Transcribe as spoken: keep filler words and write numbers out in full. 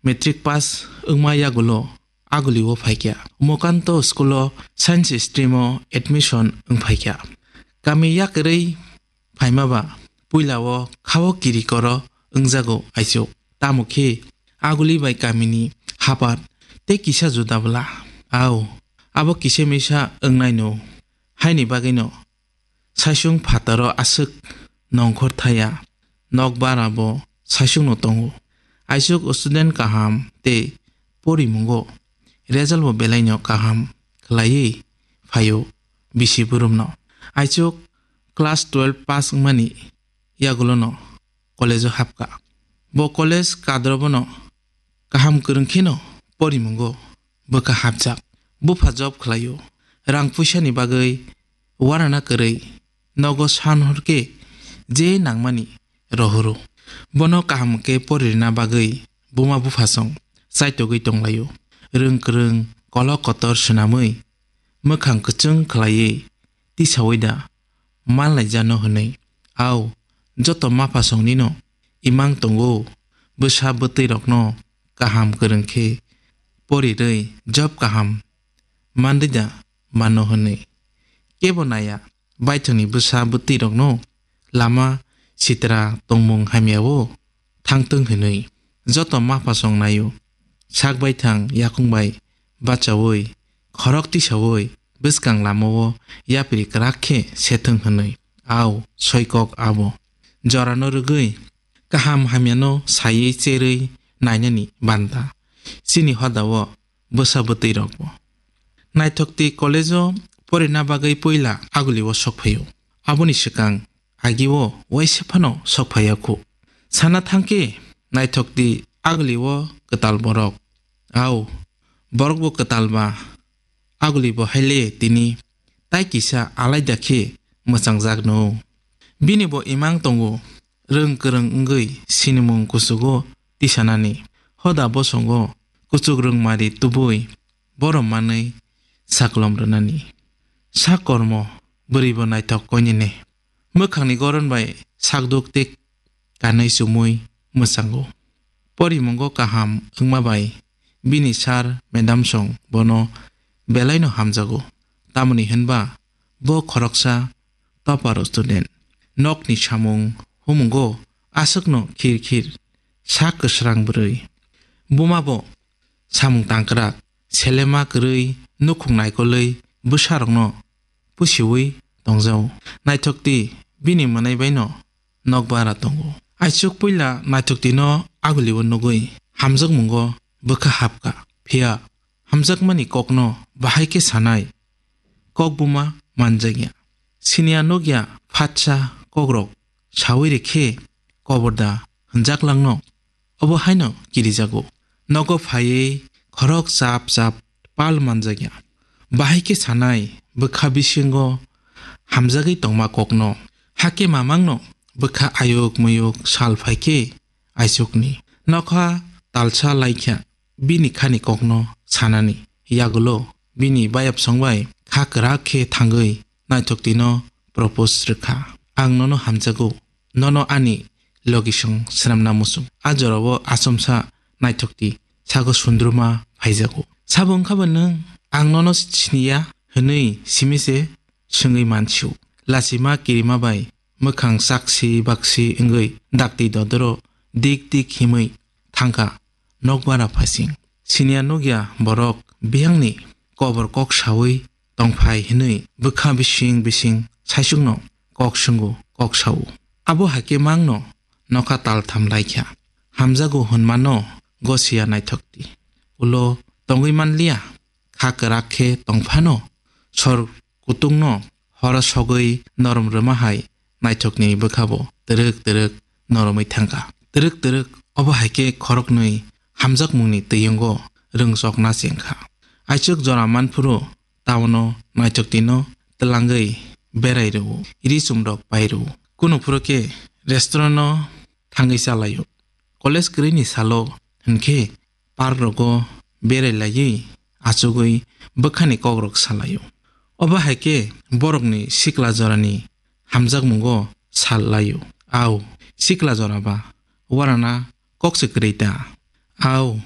Matric pass wngma yagulo Aguli o phaikha. Mokanto school o science stream o admission wngphaikha. Kami yakarwi phaima ba puila o khao kiri koro wngjago Aichuk. Tamo khe Aguli bai kamini hapat tei kisa juda bwla. Au, abo kisa misa wngnaino. Haini bagwino Saisung phataro aswk nongkhor thaya, nok bara bo saisungno tongo. Aisuk student kaham tei porimungo result bo belaino kaham khlaiwi phaio bisi burumno. Aisuk class twelve pass wngmani yagulono college o hapkha. Bo college kadro bono kaham kwrwng kheno porimungo bwkha hapjak. Bupha job khlaio. Rang puisani bagwi uarana kwrwi nogo san hor khe je nangmani rohoro. Bono kaham khe poririna bagwi buma bupha song chaitogwi tonglaio. Rwng kwrwng kolok kotor swnamwi mwkhang kwchwng khlaiwi tisaui da manlaijano hwnwi. Au, joto mapha songnino imang tongo, bwsa bwtwi rokno kaham kwrwng khe porirwi job kaham manrwida mano hwnwi. Kebo naya, baithangni bwsa bwtwi rokno lama sitra tongmung hamyao thangtwng hwnwi. Joto mapha song naio, sak baithang yakung bai bachaui, khorok tisaui bwskang lamao yapri kwrak khe sethwng hwnwi. Au, soikok abo. Jorano rwgwi kaham hamyano saiwi cherwi nainani banta. Chini hodao bwsa bwtwi rokbo. Naithok twi college o porina bagwi puila Aguli o sok phaio. Aboni swkang agi o waisa phano sok phaiya khu. Sana thangkhe naithok twi Aguli o kwtal borok. Au, borok bo kwtal ba Aguli bo haile tini tai kisa alaida khe mwchangjakno. Bini bo imang tongo, rwng kwrwng wngwi sinimung kuchugo tisanani, hoda bosongo kuchuk rwngmari tubui borom manwi saklom rwnani. Sak kormo bwrwi bo naithok koinene. Mwkhangni goron bai sakduk tei kanwi chumui mwchango. Porimungo kaham wngma bai bini sir madam song bono belaino hamjago. Tamoni hwnba bo khoroksa topper student. Nokni samung humungo aswkno khir khir sak kwsrang bwrwi. Buma bo samung tangkrak, selema kwrwi, nukhung naikolwi bwsarokno pusiui tongjao. Naithok twi bini mwnai baino nokbara tongo. Aichuk puila naithok twi no Aguli o nugwi hamjakmungo bwkha hapkha. Phiya hamjakmani kokno bahai khe sanai kok buma manjakya. Siniya nukya phatsa kokrok saui rikhe koborda hwnjaklangno obo haino kirijago. Nogo phaiwi khorok chap chap pal manjakya. Bahai khe sanai bwkha bisingo hamjagwi tongma kokno. Hakhe mamangno bwkha ayuk muyuk sal phaikhe Aichukni nokha talsa laikha bini khani kokno sanani. Yagulo bini bayapsong bai kha kwrak khe thangwi naithok twino propose rwkha. Ang nono hamjago, nono ani logisong swnamna muchung. A jorao achomsa naithok twi sago sundruma phaijago. Sabo wngkha ba nwng ang nono siniya hwnwi simi se swngwi mansio. Lachima kirima bai mwkhang chaksi baksi wngwi dakti dodoro dik dik himwi thangkha nokbara phasing. Siniya nukya borok biyangni kobor kok saui tongphai hwnwi bwkha bising bising saichukno kok swngo, kok sao. Abo hai khe mangno nokha taltham laikha. Hamjago hwnmano gosiya naithok twi. Ulo tongwi manliya, kha kwrak khe tongphano sor kutungno horo sogwi norom rwma hai naithokni bwkhabo twrwk twrwk noromwi thangkha. Twrwk twrwk obo hai khe khoroknwi hamjakmungni twiyungo rwngchokna chengkha. Aichuk jora manphuru taono naithok twino twlangwi berai rwo, ri chumrok pai rwo. Kunu phuru khe restaurant-o thangwi chalaio. College kwrwini salo hwnkhe park rogo berai laiwi achugwi bwkhani kokrok salaio. Obo hai khe borokni sikla jorani hamjakmungo sal laio. Au, sikla jora ba, warana kok se kwrwi ta? Au,